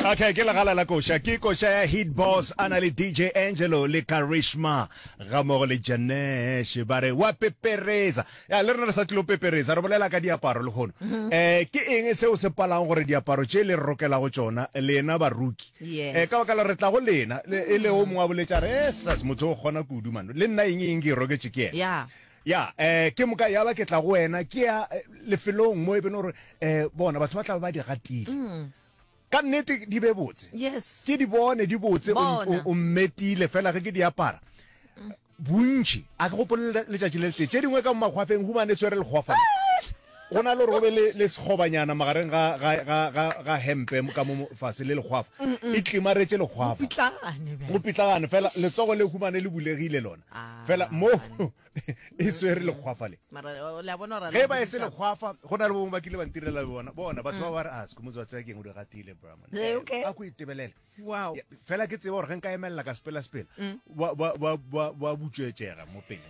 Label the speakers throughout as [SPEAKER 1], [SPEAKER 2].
[SPEAKER 1] Okay, ke legala la koša. Ke koša ya Hit Boss a na le DJ Angelo le Karishma ga mmogo le Janesh ba re wa pepereza. Ya le rena re sa tlilo pepereza re bolela ka diaparo lehono. Eh ke eng seo se palang gore diaparo tše le re rokelago tšona lena baruki?
[SPEAKER 2] Yes.
[SPEAKER 1] Eh ka baka la re tla go lena le e le o mongwe a boletša re eh sas motho o kgona kudu man. Le nna eng eng ke e roketše ke yena.
[SPEAKER 2] Yeah.
[SPEAKER 1] Ya, eh, ke moka ya ba ke tla go wena, ke ya eh, lefelong mo e beno gore eh, bona batho ba tla ba ba di gatile. Ka nnete di be botse.
[SPEAKER 2] Yes.
[SPEAKER 1] Ke di bone di botse, o,
[SPEAKER 2] Bona.
[SPEAKER 1] o, o mmetile fela ge ke di apara. Bontši, a ke gopole le- letšatši le letee. Tše dingwe ka mo makgwafeng humane tshwere lekgwafa. Go na le gore go be le, le sekgobanyana magareng ga, ga, ga, ga, ga hempe ka mo fase le lekgwafa. E tlimaretše lekgwafa.
[SPEAKER 2] Pitlagane bjale.
[SPEAKER 1] Go pitlagane fela letsogo le humane le bulegile lona.
[SPEAKER 2] Ah.
[SPEAKER 1] Fela mo e swere lekgwafa le.
[SPEAKER 2] Mara o- le a bona gore
[SPEAKER 1] Ge ba e se lekgwafa go na le bongwe ba kile ba ntirela bona. Bona batho ba ba re a Sekhumutso wa tseba keng o di gatile bra man.
[SPEAKER 2] Eh, okay.
[SPEAKER 1] A ko itebelele.
[SPEAKER 2] Wow.
[SPEAKER 1] Ya, Fela ke tseba gore ge nka emelela ka sepela sepela ba ba ba ba ba butswetšega mo pele.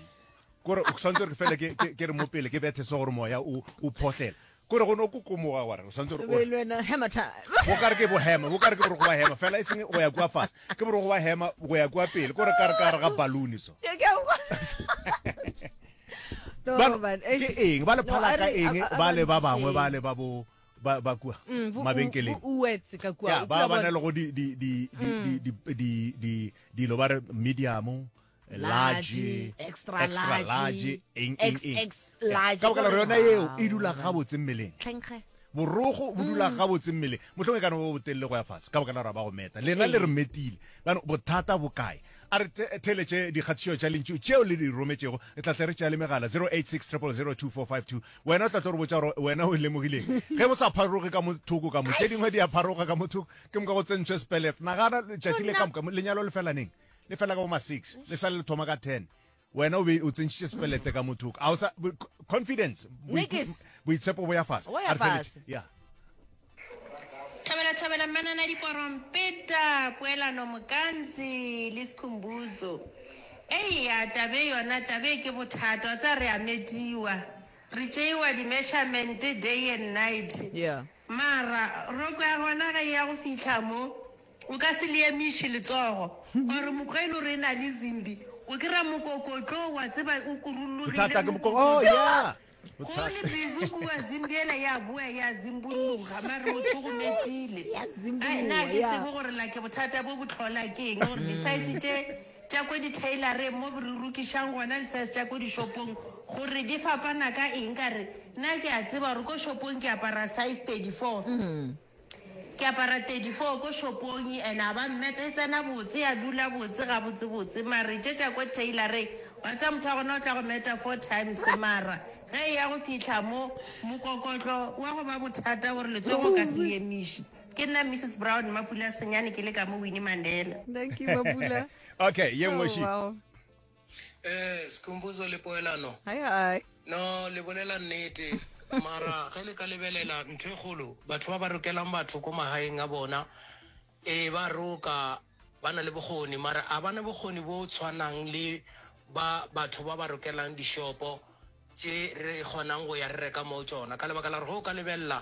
[SPEAKER 1] Kore o santse gore fela ke ke ke re mo pele ke bethe se gore moya o o phohlela. Kore go no kokomoga gore o santse gore o
[SPEAKER 2] Be le wena hammer time.
[SPEAKER 1] bo kare ke bohema bo kare ke borogo ba hema fela e seng go ya kua fase ke borogo ba hema go ya kua pele kore kare kare ga balloon so
[SPEAKER 2] Ke- ke a kwa. No,
[SPEAKER 1] Ba-
[SPEAKER 2] man, eish.
[SPEAKER 1] ke eng ba le
[SPEAKER 2] No,
[SPEAKER 1] phala
[SPEAKER 2] a
[SPEAKER 1] ka
[SPEAKER 2] re-
[SPEAKER 1] eng
[SPEAKER 2] a- a-
[SPEAKER 1] ba
[SPEAKER 2] a
[SPEAKER 1] le ba bangwe
[SPEAKER 2] ntšhe.
[SPEAKER 1] ba le ba bo ba ba kua
[SPEAKER 2] Mm, bo-
[SPEAKER 1] mabenkeleng
[SPEAKER 2] bo- uetse ka kua.
[SPEAKER 1] ya
[SPEAKER 2] O
[SPEAKER 1] ba
[SPEAKER 2] kula
[SPEAKER 1] ba na
[SPEAKER 2] bona-
[SPEAKER 1] le go di di di di di di di dilo ba re medium large
[SPEAKER 2] extra
[SPEAKER 1] extra
[SPEAKER 2] large,
[SPEAKER 1] large eng eng eng
[SPEAKER 2] XX large.
[SPEAKER 1] ka baka la gore yona eo e dula gabotse mmeleng
[SPEAKER 2] Tlhenkge.
[SPEAKER 1] borogo bo dula gabotse mmeleng mohlomongwe e ka no ba botelele go ya fatshe ka baka la gore ba go meta lena le re metile bano bothata bo kae a re the- theeletše dikgatišo tša lentšu tšeo le di rometšego re tla tle re tšea le megala 086 000 2452 wena o tla tlo re botša gore wena o lemogileng ge bo sa pharoge ka mo thoko ka mo tše dingwe di a pharoga ka mo thoko ke moka go tsentšwe sepelet nagana letšatši le ka moka lenyalo le fela neng le fela ka bo ma 6 le sale le thoma ka 10 wena o be o tsentšitše sepelete ka mo thoko a o sa confidence
[SPEAKER 2] Nikis.
[SPEAKER 1] boitshepo bo ya fase
[SPEAKER 2] Bo ya
[SPEAKER 1] A re theeletše.
[SPEAKER 2] fase.
[SPEAKER 1] ya
[SPEAKER 3] Thabela thabela mmanana diporompeta poelano Mokantsi le Skhumbuzo. Eya tabe yona tabe ke bothata wa tseba re a metiwa re tšeiwa di measurement day and night
[SPEAKER 2] Yeah.
[SPEAKER 3] mara roko ya gona ge e ya go fihla mo O ka se le emiše letsogo or mokgwa e le gore e na le zimbi o kry-a mokokotlo wa tseba o kurullogile
[SPEAKER 1] Bothata ke moko oh yeah.
[SPEAKER 3] Go le busy kua zimbi ela ya boa ya zimbulluga mare motho o go metile.
[SPEAKER 2] Ya
[SPEAKER 3] Ai
[SPEAKER 2] zimbulluga,
[SPEAKER 3] nna ke
[SPEAKER 2] ya.
[SPEAKER 3] tsebe gore like bothata bo bo tlhola ke eng gore di-size tše tša ko di-tailoreng mo re rukišang gona le size tša ko di-shopong gore di fapana ka eng ka re nna ke a tseba gore ko shopong ke apara size 34. Ke apara 34 ko shopong and a ba mmeta e tsena botse ya dula botse gabotse botse mare tše tša ko tailoreng wa tseba motho wa gona o tla go meta four times mara ge e ya go fihla mo mokokotlo wa go ba bothata gore letsogo o ka se le emiše. Ke nna Mrs Brown Mapula Senyane ke le ka mo Winnie Mandela.
[SPEAKER 4] Thank you, Mapula.
[SPEAKER 1] Okay, ye nngwe
[SPEAKER 4] Oh,
[SPEAKER 1] she.
[SPEAKER 4] wow.
[SPEAKER 5] Eh, Skhumbuzo le Poelano.
[SPEAKER 4] Hi, hi.
[SPEAKER 5] No, le bolela nnete. Mara ge le ka lebelela ntho e kgolo, batho ba ba rokelang batho ko magaeng a bona, ee ba roka, ba na le bokgoni, mara a ba na bokgoni bo tshwanang le ba batho ba ba rokelang dishopo tše re kgonang go ya re reka mo tšona. Ka lebaka la gore ge o ka lebelela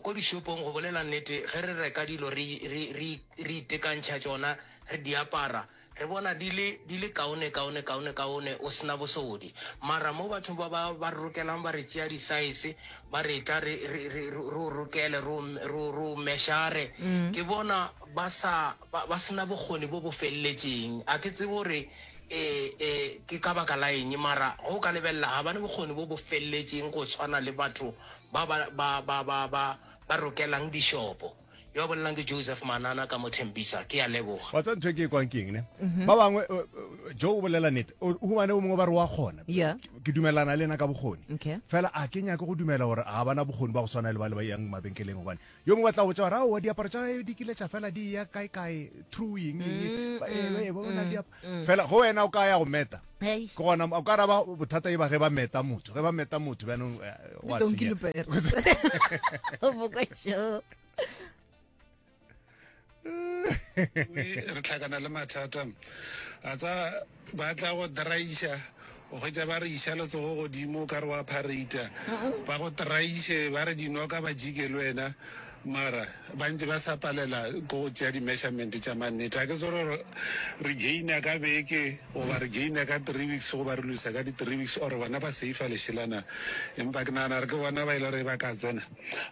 [SPEAKER 5] ko dishopong, go bolela nnete, ge re reka dilo re, re, re, re itekantšha tšona, re di apara, Re bona di le, di le kaone, kaone, kaone, kaone, o se na bosodi. Mara mo bathong ba ba, ba re rokelang, ba re tšea disaese, ba re tla re, re, re, re o rokele, re o, re o, re o mešare, ke bona ba sa, ba, ba se na bokgoni bo bo feleletšeng. A ke tsebe gore e, e ke ka baka la eng, mara ge o ka lebelela, ga ba ne bokgoni bo bo feleletšeng go tshwana le batho ba ba, ba, ba, ba, ba, ba rokelang dishopo. Yo a bolelang ke Joseph Manana ka mo Tembisa. Ke a leboga.
[SPEAKER 1] Wa tseba ntho e ke e kwang ke eng ne? Ba bangwe eh, eh, Joe o bolela nnete. O o humane o mongwe ba re wa kgona.
[SPEAKER 2] Yeah.
[SPEAKER 1] Ke dumelana le ena ka bokgoni.
[SPEAKER 2] Okay.
[SPEAKER 1] Fela a ke nyake go dumela gore ga bana bokgoni ba go swana le ba le ba yang mabenkeleng gobane yo mongwe ba tla go botša gore aowa diaparo tša gae di kile tša fela di ya kae kae through eng eng Ba- eh, eh, ba bona diap- Fela go wena o ka ya go meta.
[SPEAKER 2] Hey.
[SPEAKER 1] Ke gona o ka raba bothata e ba ge ba meta motho. Ge ba meta motho bjanong eh, wa
[SPEAKER 4] Donkey
[SPEAKER 1] senya.
[SPEAKER 4] Lupere.
[SPEAKER 2] Bokosho.
[SPEAKER 6] re tlhakana le mathata a tsa ba tla go draiša o hwetša ba re iša letsogo godimo o ka re wa parata ba go draiše ba re dinoka ba jike le wena. Mara ba ntše ba sa palela ke go tšea di-measurement tša mannete. Ga ke tsebe gore re gaina ka beke goba re gaina ka three weeks goba re losa ka di-three weeks or bona ba seifa lešela na. Empa ke nagana gore ke bona ba e le gore ba ka tsena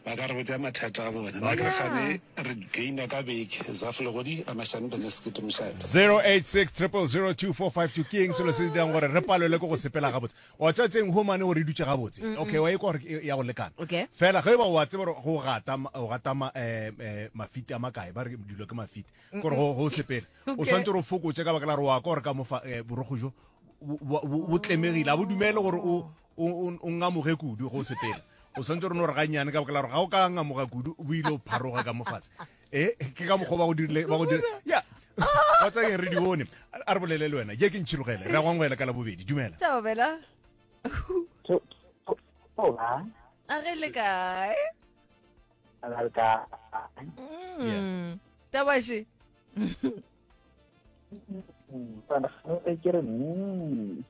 [SPEAKER 6] ba ka re botša mathata a bona. Nna ke re kgane re gaina ka beke. Zaf Legodi, Amashane Beneskete Mošate.
[SPEAKER 1] 086 000 2452 Ke eng selo se se dirang gore re palelwe ke go sepela gabotse? Wa tseba tšeng humane gore e dutše gabotse. Okay, wa ikwa gore e- ya go lekana.
[SPEAKER 2] Okay.
[SPEAKER 1] Fela ge e ba wa tseba gore go gata o gata ma, eh, eh, mafiti a makae, ba re dilo ke mafiti. Gore go go sepela. O
[SPEAKER 2] Okay.
[SPEAKER 1] swantse gore o fokotše ka baka la gore wa kwa gore ka mofa eh, borokgo jo bo- bo bo- bo tlemegile. A bo dumele gore o o o- o ngamoge kudu go sepela. O swantse gore no re gannyane ka baka la gore ga o ka ngamoga kudu o ile o pharoga ka mofatshe. E ke ka mokgwa ba go dirile ba go dirile. Ya. Wa tseba eng re di bone. A re bolele le wena. Ye ke ntšhirogele. Re a go amogela ka labobedi. Dumela.
[SPEAKER 2] Thobela.
[SPEAKER 4] Hola.
[SPEAKER 2] A ge le kae?
[SPEAKER 4] A le kae?
[SPEAKER 2] Mm. Tabashi.
[SPEAKER 4] Ke re mm.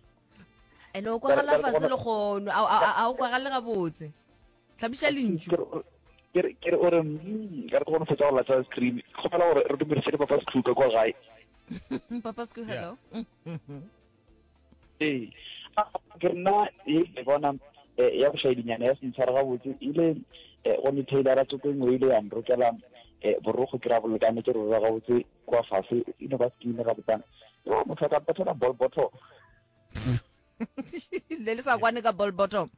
[SPEAKER 2] Ene o kwagala fase le kgono, a o kwagale gabotse. Hlabiša lentšu.
[SPEAKER 4] Ke re ke re o re mm, ka re go no fetsa go latsa screen. Kgopela gore re dumedise le Papa Screw ka kwa gae.
[SPEAKER 2] Papa Screw hello.
[SPEAKER 4] Ee. Ke nna e ke bona eh, ya bošaedinyana ya sentshwara gabotse ile eh, go ne tailora tsoko engwe ile ya nrokela eh, borokgo ke ra bolekane ke rora gabotse kwa fase e no ba skin gabotsana. Yo motho a ka mpethela ball bottom.
[SPEAKER 2] Le le sa kwane ka ball bottom.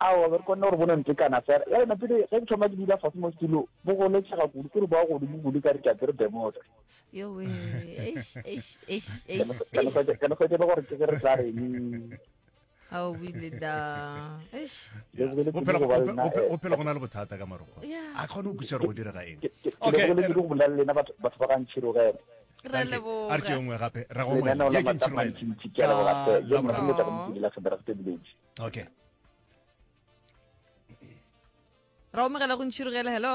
[SPEAKER 4] Aowa, be re kgonne gore bo no ntekana fela. Bjale napile ge ke thoma ke dula fase mo setulo, bo goletšega kudu, ke re bo ya godimo kudu ka re ke apere bermuda.
[SPEAKER 2] Yowe, eish, eish, eish, eish,
[SPEAKER 4] Ka no
[SPEAKER 2] eish.
[SPEAKER 4] hwetša ka no hwetša e le gore ke ge re tla reng.
[SPEAKER 2] Ao, o ile da. Eish.
[SPEAKER 4] Le lebogele
[SPEAKER 1] Go
[SPEAKER 4] kudu
[SPEAKER 1] phela
[SPEAKER 4] go ba
[SPEAKER 1] go
[SPEAKER 4] le nna,
[SPEAKER 1] phela
[SPEAKER 4] eh,
[SPEAKER 1] go phela go na le bothata ka marokgwa.
[SPEAKER 2] Yeah.
[SPEAKER 1] A kgone go kwešiša gore go direga eng.
[SPEAKER 4] Ke ke- ke
[SPEAKER 1] Okay.
[SPEAKER 4] lebogele kudu go bolela le lena batho batho ba ga ntšhirogela.
[SPEAKER 2] Re
[SPEAKER 1] Thank you. A re tšee
[SPEAKER 2] leboga.
[SPEAKER 1] nngwe gape. Ra go amogela.
[SPEAKER 4] Lenaneo la
[SPEAKER 1] Ye ke
[SPEAKER 4] Matlapa
[SPEAKER 1] ntšhirogela.
[SPEAKER 4] Ntšintši, ke a leboga
[SPEAKER 1] Ka
[SPEAKER 4] hle. Ye
[SPEAKER 1] Laboraro.
[SPEAKER 4] nna ke tla go motšhini la Gebergte Village.
[SPEAKER 1] Okay.
[SPEAKER 2] Ra omogela go ntšhirogela hello.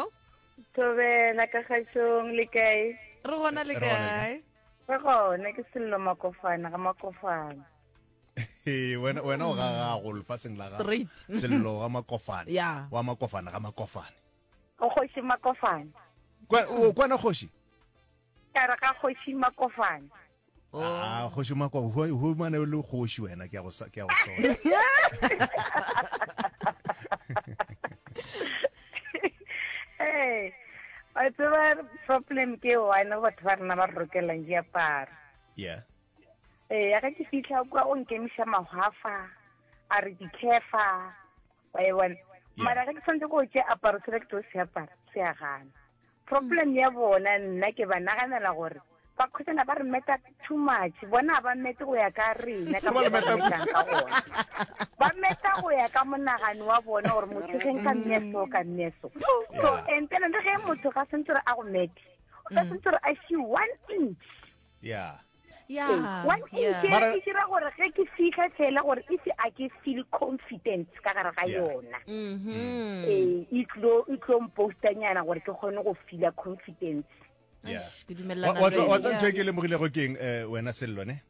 [SPEAKER 7] Thobela ka kgašong le kae?
[SPEAKER 2] Re gona le
[SPEAKER 1] Re gona le
[SPEAKER 2] kae?
[SPEAKER 7] Re gona ke Sello Makofana ga Makofana.
[SPEAKER 1] Ee, wena wena o ga gago lefaseng la gago.
[SPEAKER 2] Straight.
[SPEAKER 1] Sello ga Makofane.
[SPEAKER 2] Yeah.
[SPEAKER 1] Wa Makofane ga Makofane.
[SPEAKER 7] O kgoši Makofane.
[SPEAKER 1] Kwa o kwana kgoši?
[SPEAKER 7] Ka re ga kgoši Makofane.
[SPEAKER 2] Oh.
[SPEAKER 1] Ah, kgoši Makofane, ho mane o le kgoši wena ke ya go ke ya go sola.
[SPEAKER 7] Ee, wa tseba problem ke one batho ba rena ba re rokelang diaparo.
[SPEAKER 1] Yeah.
[SPEAKER 7] Ee, ya ge ke fitlha kwa o nkemiša mahwafa, a re dikhefa, wa e bona. Mara ge ke tshwanetse go tšea aparo sela ke tlo se apara, se a gana. Problem ya bona nna ke ba naganela gore ba khwetšana ba re meta too much bona ga ba mete go ya ka rena ka
[SPEAKER 1] Ba le
[SPEAKER 7] mo ba
[SPEAKER 1] meta
[SPEAKER 7] metang ka gona ba meta go ya ka monagano wa bona gore motho ge nka mme so ka mme so so
[SPEAKER 1] Yeah.
[SPEAKER 7] and then le ge motho ga sentse gore a go mete o ka sentse gore a she one inch
[SPEAKER 1] Yeah.
[SPEAKER 2] Yeah.
[SPEAKER 7] one inch
[SPEAKER 2] Yeah.
[SPEAKER 7] e
[SPEAKER 1] Mara-
[SPEAKER 7] e dira gore ge ke fitlha fela gore if a ke feel confidence ka gare ga
[SPEAKER 1] Yeah.
[SPEAKER 7] yona
[SPEAKER 2] Mhm.
[SPEAKER 7] ee e tlo e tlo mpostanyana gore ke kgone go feela confidence
[SPEAKER 1] Yeah.
[SPEAKER 2] Eish, Ke dumellana
[SPEAKER 1] Wa
[SPEAKER 2] le
[SPEAKER 1] wa
[SPEAKER 2] wena.
[SPEAKER 1] tsa ntho e ke lemogilego ke eng eh, wena Sello ne?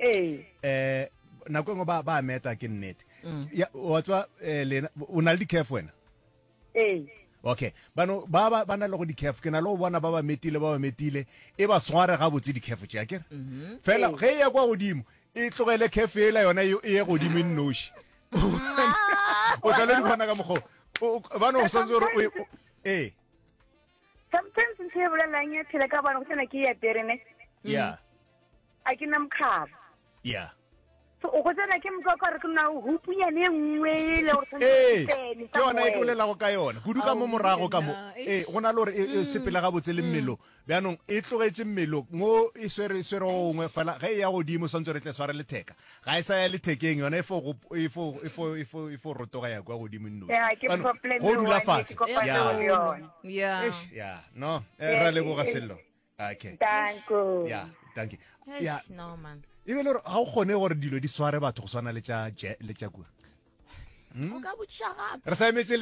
[SPEAKER 7] ee
[SPEAKER 1] Eh nako e nngwe ba ba meta ke nnete. Ya wa tswa eh, lena o na le di-curve wena?
[SPEAKER 7] ee
[SPEAKER 1] Okay. Bano ba ba ba na le go di-curve ke na le go bona ba ba metile ba ba metile e ba sware gabotse di-curve tše akere. Fela ge e ya kwa godimo e tlogele curve ela yona e e ye godimo e nnoši. O tla le di bona ka mokgwa o. O- Bano o santse gore o e- o- ee.
[SPEAKER 7] Sometimes ntho e bolelang ya phela ka bana go tsena ke e apere ne.
[SPEAKER 1] Yeah.
[SPEAKER 7] A ke na mokgabo.
[SPEAKER 1] Yeah.
[SPEAKER 7] So o go tsena ke mokgwa ka re ke na hupunyane e nngwe e le gore
[SPEAKER 1] Ee,
[SPEAKER 7] tshwanetse ke tsene
[SPEAKER 1] ke yona e ke
[SPEAKER 7] somewhere.
[SPEAKER 1] bolelago ka yona kudu ka mo morago ka mo
[SPEAKER 2] Ao,
[SPEAKER 1] ee go na le gore e e sepela gabotse le mmelong bjanong e tlogetše mmelong mo e swere e swere gongwe fela ge e ya godimo swantse re tle sware letheka ga e sa ya lethekeng yona e fo go e fo e fo e fo e fo rotoga ya kwa godimo nnoši
[SPEAKER 7] Ya, ke
[SPEAKER 1] Bjanong,
[SPEAKER 7] problem
[SPEAKER 1] go
[SPEAKER 7] e
[SPEAKER 1] dula
[SPEAKER 7] one e
[SPEAKER 1] fase
[SPEAKER 7] ke kopane
[SPEAKER 1] ya
[SPEAKER 7] le yona.
[SPEAKER 2] Yeah.
[SPEAKER 1] Eish, ya no eh, ra leboga sello okay
[SPEAKER 7] Danko.
[SPEAKER 1] ya danke
[SPEAKER 2] Eish,
[SPEAKER 1] ya
[SPEAKER 2] No man.
[SPEAKER 1] e be le gore ga o kgone gore dilo di sware batho go swana le tša le tša kua
[SPEAKER 2] O ka botšiša gape.
[SPEAKER 1] re sa emetse.